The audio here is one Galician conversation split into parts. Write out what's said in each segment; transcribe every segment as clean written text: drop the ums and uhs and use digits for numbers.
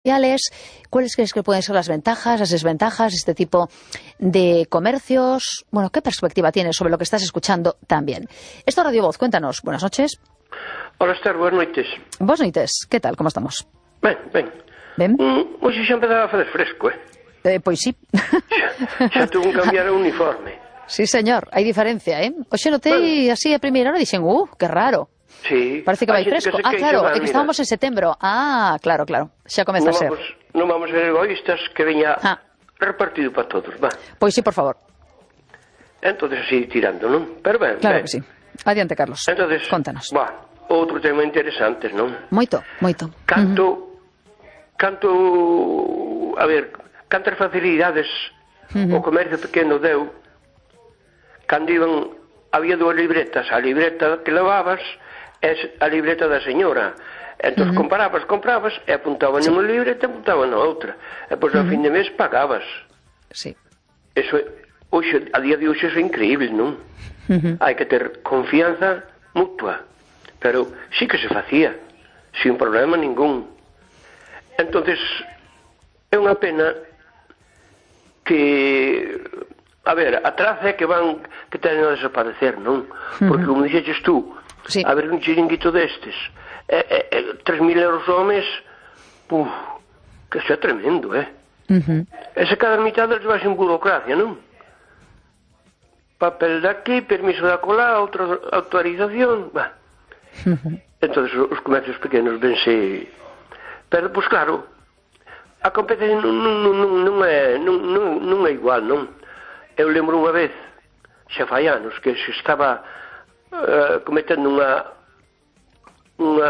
¿Cuáles crees que pueden ser las ventajas, las desventajas de este tipo de comercios? Bueno, ¿qué perspectiva tienes sobre lo que estás escuchando también? Esto es Radio Voz, cuéntanos. Buenas noches. Hola, Esther, buenas noites. Buenas noites, ¿qué tal? ¿Cómo estamos? Ben. Hoxe xa empezaba a fazer fresco, Pois sí. Xa tuvo que cambiar o uniforme. Sí, señor, hai diferencia, Hoxe notei así a primeira hora e dixen, que raro. Sí. Parece que vai fresco. Claro, é que estábamos en setembro. Claro, xa comeza a ser. Non vamos a ser egoístas, que veña repartido para todos, va. Pois sí, por favor. Entonces así tirando, non? Pero ben, claro que sí. Adiante, Carlos. Entonces, contanos. Outro tema interesante, non? Moito. Cantas facilidades o comercio pequeno deu cando iban, había dúas libretas, a libreta que levabas é a libreta da señora. Entón comprabas e apuntaban nunha libreta e apuntaban na outra. E pois ao fin de mes pagabas. Sí. Eso, a día de hoxe é increíble, non? Hai que ter confianza mutua. Pero sí que se facía, sin problema ningún. Entonces, é unha pena que, a traza é que teñen a desaparecer, non? Porque, como dixeches tú, a ver un chiringuito destes, 3.000 euros ao mes, que xa é tremendo, E se cada mitad deles vai sin burocracia, non? Papel daqui, permiso de acolá, outra autorización, entón os comercios pequenos vense. Pero, pois claro, a competencia non é igual, non? Eu lembro unha vez, xa fai anos, que se estaba cometendo unha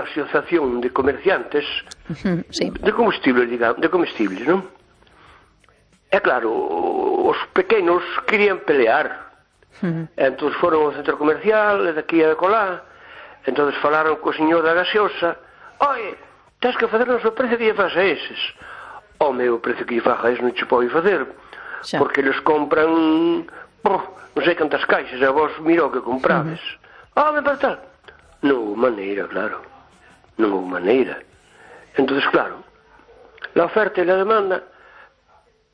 asociación de comerciantes de comestibles, non? É claro, os pequenos querían pelear. Entón foron ao centro comercial, e daqui a colá, entón falaron co señor da gaseosa: «Oye, tens que facernos o precio que lle faz a eses». O meu precio que lle faz a eses non che pode facer, porque eles compran non sei cantas caixas, e vos mira o que comprades. Me para tal. Non houve maneira, claro. Non houve maneira. Entón, claro, la oferta e la demanda,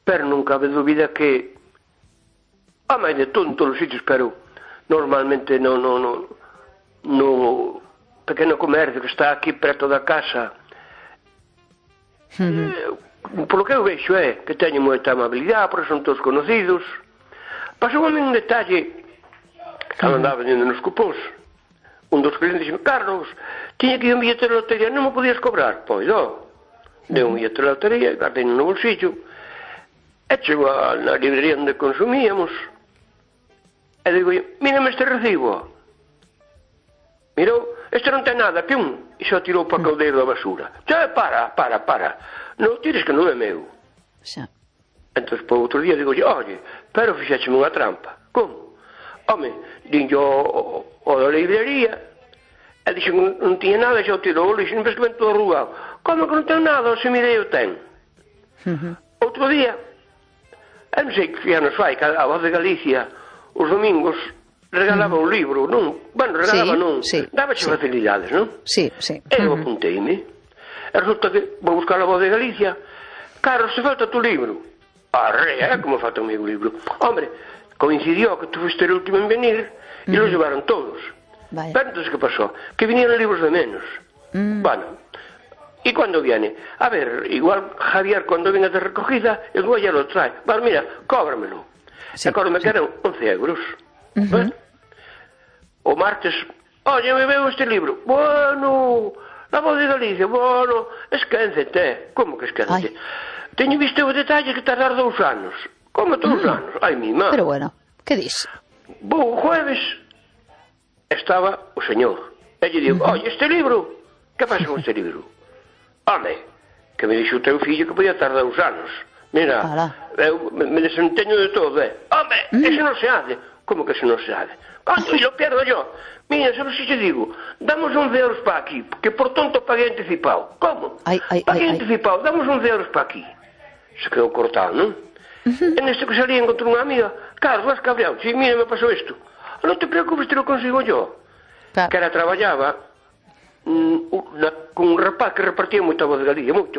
pero non cabe dúbida que máis de todo en todos os sitios, pero normalmente no pequeno comercio que está aquí preto da casa, polo que eu vexo que teñen moita amabilidade, porque son todos conocidos. Pasou a mí un detalle cando andaba vendendo nos cupóns. Un dos clientes dixo: «Carlos, tiña que ir un billete de lotería, non me podías cobrar?» Pois, deu un billete de lotería, guardei no bolsillo, e chego na librería onde consumíamos, e digo: «Mírame este recibo». Mirou: «Este non ten nada, e só tirou para o caldeiro da basura». Para, non tires, que non é meu. Entón, por outro día, digo: «Oye, pero fixécheme unha trampa». «Como?» Dinlle o da librería, e dixo que non tiña nada, e xa o tirou, e dixo: «Non ves que ven todo arrugado». «Como que non ten nada? Se mirei o ten». Outro día, non sei que anos fai, que a Voz de Galicia, os domingos, regalaba un libro, non? Dábache facilidades, non? E eu apunteime. E resulta que vou buscar a Voz de Galicia: «Carlos, se falta tu libro». Como falta o meu libro? Hombre, coincidió que tú fuiste el último en venir y los llevaron todos. Pero entonces, ¿qué pasó? Que vinieron libros de menos. Bueno, ¿y cuándo viene? A ver, igual Javier, cuando venga de recogida, el güey ya lo trae. Bueno, mira, cóbramelo. Me quedan 11 euros. O martes: «Oye, me veo este libro». «Bueno, la Voz de Galicia, bueno, esquéncete». «Como que esquéncete? Teño visto o detalle que tardar 2 anos». «Como 2 anos? Ai, mi má». Pero bueno, que dis? O jueves estaba o señor, e lle digo: «Oye, este libro, que pasa con este libro?» Que me dixo o teu fillo que podía tardar 2 anos. Mira, eu me desenteño de todo, ese non se hace». «Como que ese non se hace?» «Y lo pierdo yo». «Mira, sabes si te digo, damos 11 euros para aquí, que por tonto paguei anticipado». «Como? Paguei anticipado, damos 11 euros para aquí». Se quedou cortado, non? En este que salía encontré unha amiga: «Carlos, vas cabreado, si, mira, me pasou isto». «Non te preocupes, te lo consigo yo». Que era traballaba con un rapaz que repartía moita Voz de Galicia, moito.